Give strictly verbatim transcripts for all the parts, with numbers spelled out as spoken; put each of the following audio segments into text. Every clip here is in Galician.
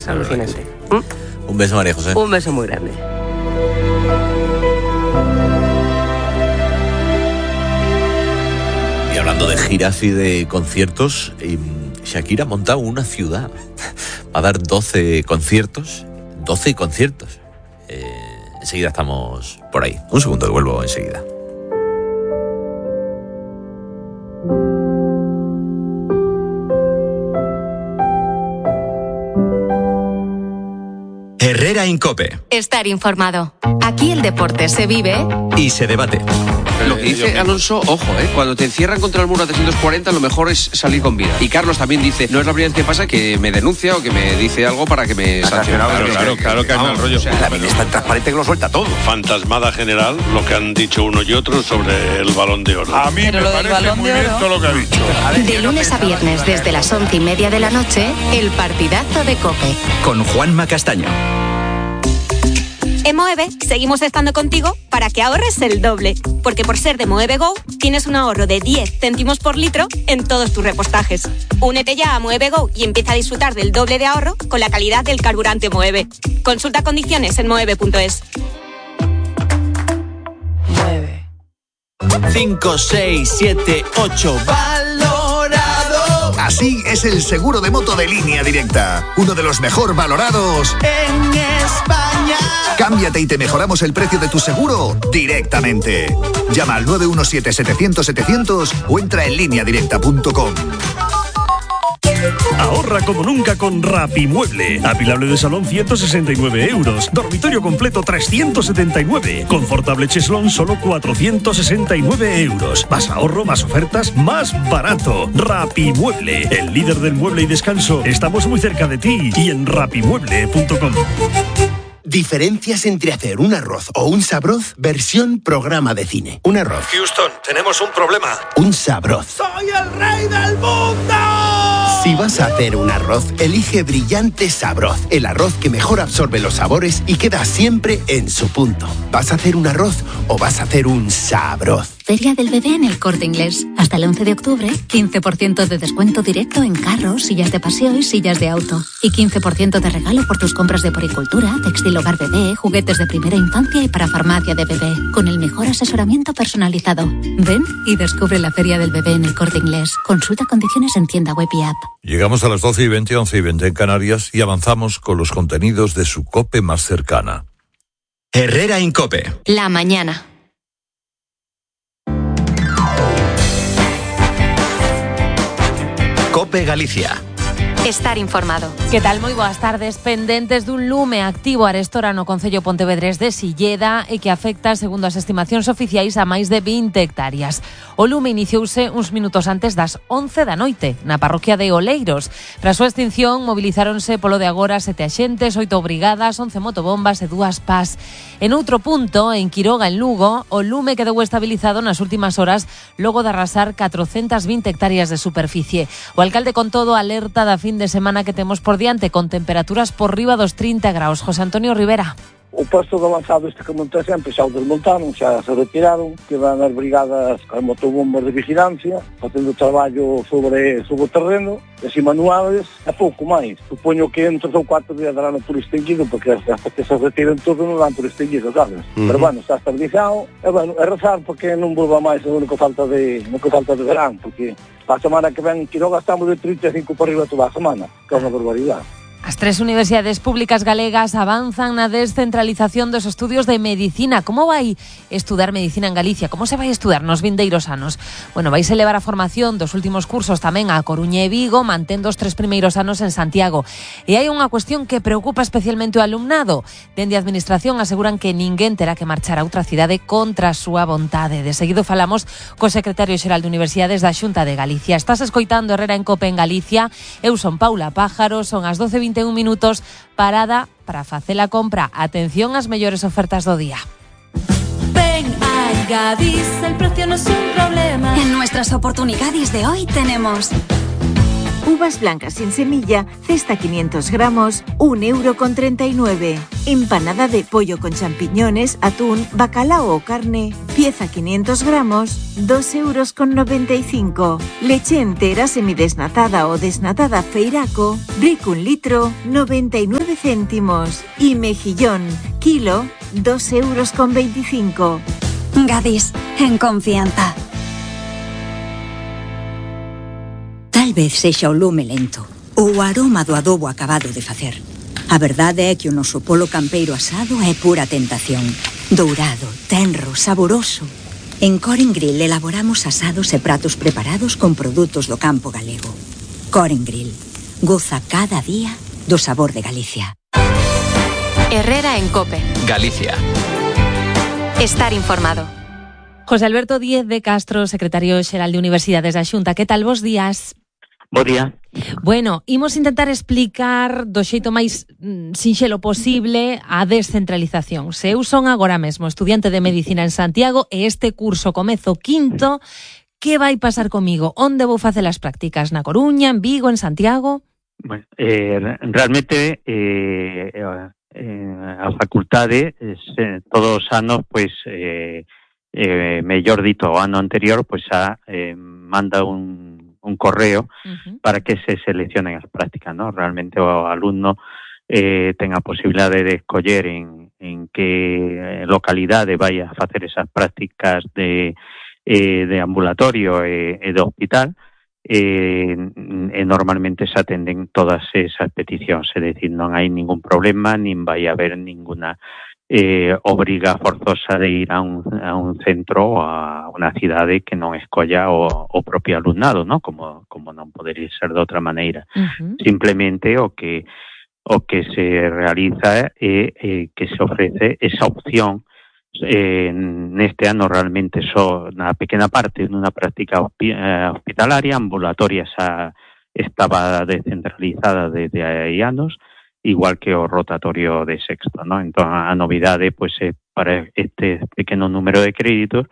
Es alucinante. ¿Mm? Un beso, María José. Un beso muy grande. Y hablando de giras y de conciertos, Shakira ha montado una ciudad. Va a dar doce conciertos. doce conciertos. Eh, enseguida estamos por ahí. Un segundo, que vuelvo enseguida. Herrera en COPE. Estar informado. Aquí el deporte se vive y se debate. Lo que dice Alonso, ojo, ¿eh? Cuando te encierran contra el muro a trescientos cuarenta, lo mejor es salir con vida. Y Carlos también dice, no es la primera vez que pasa que me denuncia o que me dice algo para que me sancione. Claro, claro, claro que hay mal rollo. O sea, la vida es tan transparente que lo suelta todo. Fantasmada general, lo que han dicho uno y otro sobre el Balón de Oro. A mí Pero me parece muy bien todo lo que ha dicho. de lunes a viernes desde las once y media de la noche, el partidazo de COPE. Con Juanma Castaño. En Moeve seguimos estando contigo para que ahorres el doble, porque por ser de Moeve Go tienes un ahorro de diez céntimos por litro en todos tus repostajes. Únete ya a Moeve Go y empieza a disfrutar del doble de ahorro con la calidad del carburante Moeve. Consulta condiciones en moeve punto es. Mueve. cinco, seis, siete, ocho, valorado. Así es el seguro de moto de Línea Directa, uno de los mejor valorados en España. Cámbiate y te mejoramos el precio de tu seguro directamente. Llama al nueve uno siete, setecientos, setecientos o entra en línea directa punto com. Ahorra como nunca con Rapimueble. Apilable de salón ciento sesenta y nueve euros. Dormitorio completo trescientos setenta y nueve. Confortable cheslón solo cuatrocientos sesenta y nueve euros. Más ahorro, más ofertas, más barato. Rapimueble, el líder del mueble y descanso. Estamos muy cerca de ti y en rapimueble punto com. Diferencias entre hacer un arroz o un sabroz versión programa de cine. Un arroz. Houston, tenemos un problema. Un sabroz. ¡Soy el rey del mundo! Si vas a hacer un arroz, elige Brillante Sabroz, el arroz que mejor absorbe los sabores y queda siempre en su punto. ¿Vas a hacer un arroz o vas a hacer un sabroz? Feria del Bebé en el Corte Inglés. Hasta el once de octubre, quince por ciento de descuento directo en carros, sillas de paseo y sillas de auto. Y quince por ciento de regalo por tus compras de poricultura, textil hogar bebé, juguetes de primera infancia y para farmacia de bebé. Con el mejor asesoramiento personalizado. Ven y descubre la Feria del Bebé en el Corte Inglés. Consulta condiciones en tienda web y app. Llegamos a las doce y veinte, once y veinte en Canarias y avanzamos con los contenidos de su COPE más cercana. Herrera en COPE. La mañana. COPE Galicia. Estar informado. Que tal? Moi boas tardes. Pendentes dun lume activo arestora no concello pontevedrés de Silleda e que afecta, segundo as estimacións oficiais, a máis de vinte hectáreas. O lume iniciouse uns minutos antes das once da noite na parroquia de Oleiros. Para a súa extinción mobilizáronse polo de agora sete axentes, oito brigadas, once motobombas e dúas pás. En outro punto, en Quiroga, en Lugo, o lume quedou estabilizado nas últimas horas logo de arrasar catrocentas vinte hectáreas de superficie. O alcalde con todo alerta da fin de semana que temos por diante con temperaturas por riba dos trinta graus. José Antonio Rivera. O posto de avanzado este que monta sempre xa o desmontaron, xa se retiraron, quedan as brigadas as motobombas de vigilancia, facendo traballo sobre, sobre o terreno, así manuales, e pouco máis. Supoño que en tres ou cuatro días darán por extinguido, porque hasta que se retiren todo non dan por extinguido, sabes? Uh-huh. Pero bueno, está estabilizado, e bueno, é rezar porque non volva máis o único falta de, único falta de verán, porque a semana que ven en Quiroga estamos de trinta e cinco por arriba toda a semana, que é unha barbaridade. As tres universidades públicas galegas avanzan na descentralización dos estudios de medicina. Como vai estudar medicina en Galicia? Como se vai estudar nos vindeiros anos? Bueno, vais elevar a formación dos últimos cursos tamén a Coruña e Vigo, mantendo os tres primeiros anos en Santiago. E hai unha cuestión que preocupa especialmente o alumnado. Dende a Administración aseguran que ninguén terá que marchar a outra cidade contra a súa vontade. De seguido falamos co secretario xeral de Universidades da Xunta de Galicia. Estás escoitando Herrera en COPE en Galicia. Eu son Paula Pájaro, son as doce e vinte e un minutos, parada para facer a compra. Atención ás mellores ofertas do día. Ven a Gadis, el precio no es un problema. En nuestras oportunidades de hoy tenemos Uvas blancas sin semilla, cesta quinientos gramos, un euro con treinta y nueve. Empanada de pollo con champiñones, atún, bacalao o carne, pieza quinientos gramos, dos euros con noventa y cinco. Leche entera semidesnatada o desnatada Feiraco, brick un litro, noventa y nueve céntimos. Y mejillón, kilo, dos euros con veinticinco. Gadis, en confianza. Tal vez sexa o lume lento ou o aroma do adobo acabado de facer. A verdade é que o noso polo campeiro asado é pura tentación. Dourado, tenro, saboroso. En Coren Grill elaboramos asados e pratos preparados con produtos do campo galego. Coren Grill. Goza cada día do sabor de Galicia. Herrera en COPE. Galicia. Estar informado. José Alberto Díez de Castro, secretario xeral de Universidades da Xunta. Que tal, vos días? Bo día. Bueno, imos intentar explicar do xeito máis mm, sinxelo posible a descentralización. Se eu son agora mesmo estudiante de Medicina en Santiago e este curso comezo quinto, que vai pasar comigo? Onde vou facer as prácticas? Na Coruña, en Vigo, en Santiago? Bueno, eh, realmente eh, eh, a facultade eh, todos os anos, pois, eh, eh, mellor dito, o ano anterior, pois a eh, manda un un correo uh-huh. para que se seleccionen as prácticas, ¿no? Realmente o alumno eh, ten a posibilidade de escoller en, en que localidade vai a facer esas prácticas de, eh, de ambulatorio e, e de hospital, eh, e normalmente se atenden todas esas peticións, é dicir, non hai ningún problema, nin vai haber ninguna Eh, obriga forzosa de ir a un, a un centro ou a unha cidade que non escolla o, o propio alumnado, ¿no? Como, como non podería ser de outra maneira. Uh-huh. Simplemente o que o que se realiza é eh, que se ofrece esa opción eh, neste ano realmente só na pequena parte nunha práctica hospi- eh, hospitalaria, ambulatoria xa estaba descentralizada desde hai anos, igual que o rotatorio de sexto, ¿no? Entón, a novidade, pois, é para este pequeno número de créditos,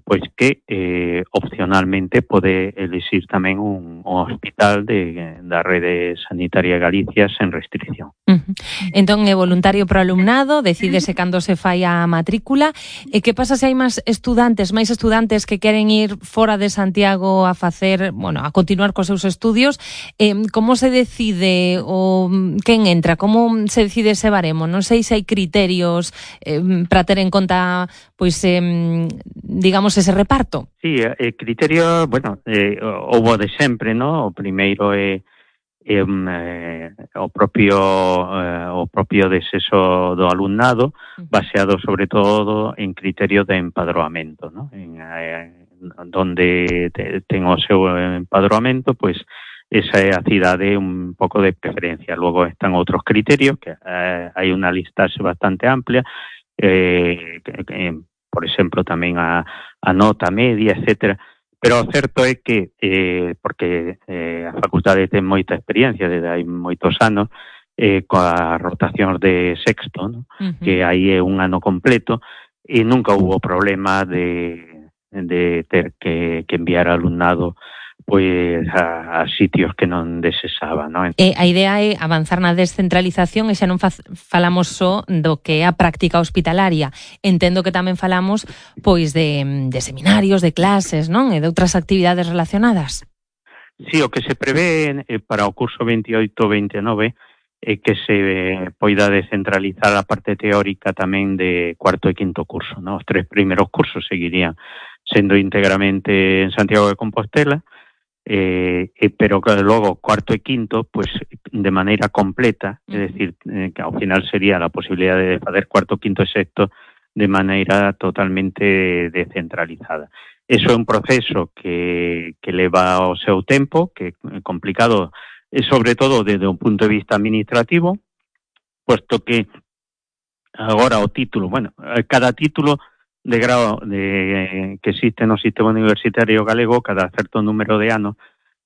pois que eh, opcionalmente pode elixir tamén un, un hospital de, da rede sanitaria de Galicia sen restricción. Uh-huh. Entón, é voluntario pro alumnado, decídese cando se fai a matrícula. E que pasa se hai máis estudantes, máis estudantes que queren ir fora de Santiago a facer, bueno, a continuar cos seus estudios? Eh, como se decide o quen entra? Como se decide ese baremo? Non sei se hai criterios eh, para ter en conta, pois, eh, digamos, ese reparto. Sí, el criterio, bueno, eh, houbo de sempre, ¿no? O primeiro é eh, eh, o propio eh, o propio desexo do alumnado, baseado sobre todo en criterios de empadroamento, ¿no? En, eh, donde te, ten o seu empadroamento, pues esa é a cidade un pouco de preferencia. Logo están outros criterios, que eh, hai unha listaxe bastante amplia, eh, que, que, por exemplo, tamén a, a nota media, etcétera. Pero o certo é que, eh, porque eh, a facultade ten moita experiencia desde hai moitos anos, eh, coa rotación de sexto, ¿no? Uh-huh. Que aí é un ano completo, e nunca hubo problema de, de ter que, que enviar alumnado pois a, a sitios que non desexaba, non? E a idea é avanzar na descentralización e xa non fa, falamos só do que é a práctica hospitalaria. Entendo que tamén falamos pois de, de seminarios, de clases, non? E de outras actividades relacionadas. Sí, o que se prevé eh, para o curso veintioito veintinueve é que se poida descentralizar a parte teórica tamén de cuarto e quinto curso, non? Os tres primeiros cursos seguirían sendo íntegramente en Santiago de Compostela, Eh, eh, pero que logo cuarto e quinto, pues de maneira completa, é dicir, eh, que ao final sería a posibilidade de fazer cuarto, quinto e sexto de maneira totalmente descentralizada. Eso é un proceso que, que leva o seu tempo, que é complicado, e sobre todo desde un punto de vista administrativo, puesto que agora o título, bueno, cada título de grado de, que existe no sistema universitario galego, cada certo número de anos,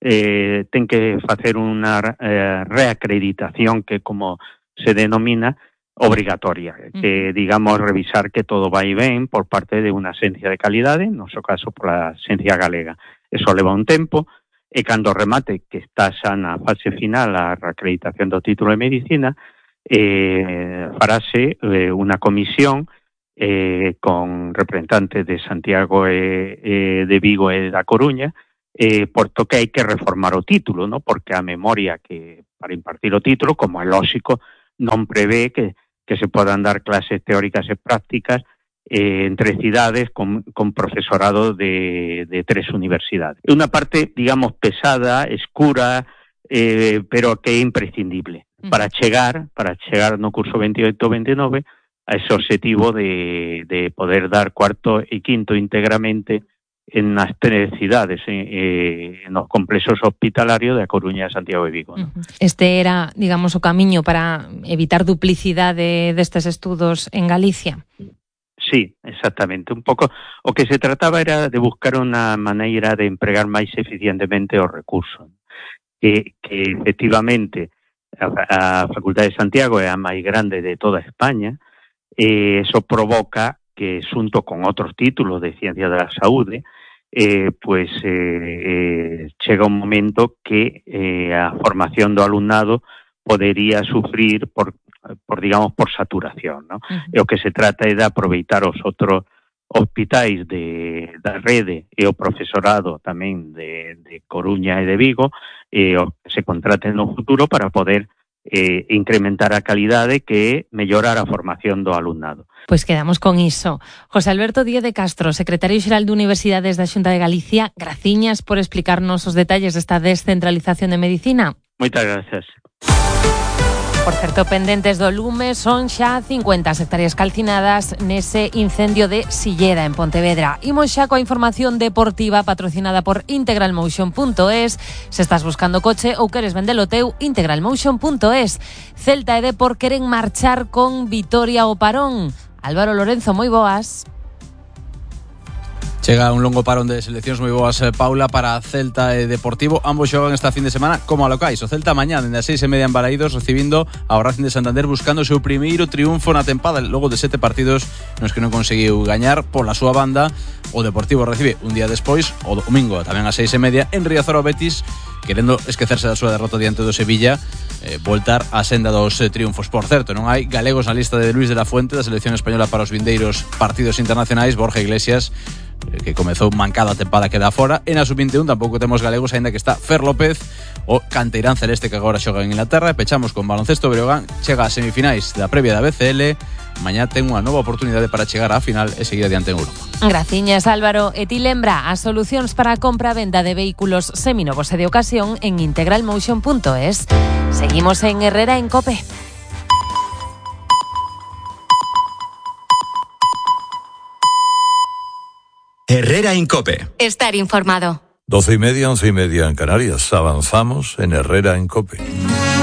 eh, ten que facer unha eh, reacreditación que, como se denomina, obrigatoria, que, digamos, revisar que todo vai ben por parte de unha agencia de calidade, no seu caso, pola agencia galega. Eso leva un tempo, e cando remate, que está xa na fase final a reacreditación do título de Medicina, eh, farase eh, unha comisión eh, con representantes de Santiago e, e de Vigo e da Coruña, eh, porto que hai que reformar o título, ¿no? Porque a memoria que para impartir o título, como é lógico, non prevé que, que se podan dar clases teóricas e prácticas Eh, entre cidades con, con profesorado de, de tres universidades. É unha parte, digamos, pesada, escura, eh, pero que é imprescindible para chegar, para chegar no curso veintioito veintinueve a ese objetivo de, de poder dar cuarto e quinto íntegramente en as tres cidades, eh, en os complexos hospitalarios de A Coruña, Santiago e Vigo, ¿no? Este era, digamos, o camiño para evitar duplicidade destes estudos en Galicia. Sí, exactamente. Un pouco o que se trataba era de buscar unha maneira de empregar máis eficientemente os recursos. Que, que efectivamente a, a Facultade de Santiago é a máis grande de toda España, e eso provoca que, xunto con outros títulos de Ciencia da Saúde, eh, pues eh, eh, chega un momento que eh, a formación do alumnado podería sufrir por por digamos por saturación, ¿no? Uh-huh. E o que se trata é de aproveitar os outros hospitais de da rede e o profesorado tamén de, de Coruña e de Vigo, e o que se contraten no futuro para poder eh, incrementar a calidade, que é mellorar a formación do alumnado. Pois quedamos con iso. José Alberto Díez de Castro, secretario xeral de Universidades da Xunta de Galicia, graciñas por explicarnos os detalles desta descentralización de medicina. Moitas gracias. Por certo, pendentes do lume, son xa cincuenta hectáreas calcinadas nese incendio de Silleda, en Pontevedra. Imos xa coa información deportiva patrocinada por integral motion punto es. Se estás buscando coche ou queres vendelo teu, integral motion punto es. Celta e Depor queren marchar con vitoria ao parón. Álvaro Lorenzo, moi boas. Chega un longo parón de seleccións moi boas, Paula, para Celta e Deportivo. Ambos xogan esta fin de semana como a locais. O Celta mañá, dende as seis e media en Balaídos, recibindo ao Racing de Santander, buscando o seu primeiro triunfo na tempada, logo de sete partidos nos que non conseguiu gañar. Pola súa banda, o Deportivo recibe un día despois, o domingo, tamén ás seis e media, en Riazor ao Betis, querendo esquecerse da súa derrota diante do Sevilla, eh, voltar á senda dos eh, triunfos. Por certo, non hai galegos na lista de Luis de la Fuente da selección española para os vindeiros partidos internacionais. Borja Iglesias, que comezou mancada a tempada, queda fora. En a sub veintiún tampouco temos galegos, aínda que está Fer López, o canteirán celeste que agora xoga en Inglaterra. E pechamos con baloncesto. Breogán chega ás semifinais da previa da B C L. Mañá ten unha nova oportunidade para chegar á final e seguir adiante en Europa. Graciñas, Álvaro. E ti lembra as solucións para a compra e venda de vehículos seminovos e de ocasión en integral motion punto es. Seguimos en Herrera en COPE. Herrera en COPE. Estar informado. Doce y media, once y media en Canarias. Avanzamos en Herrera en COPE.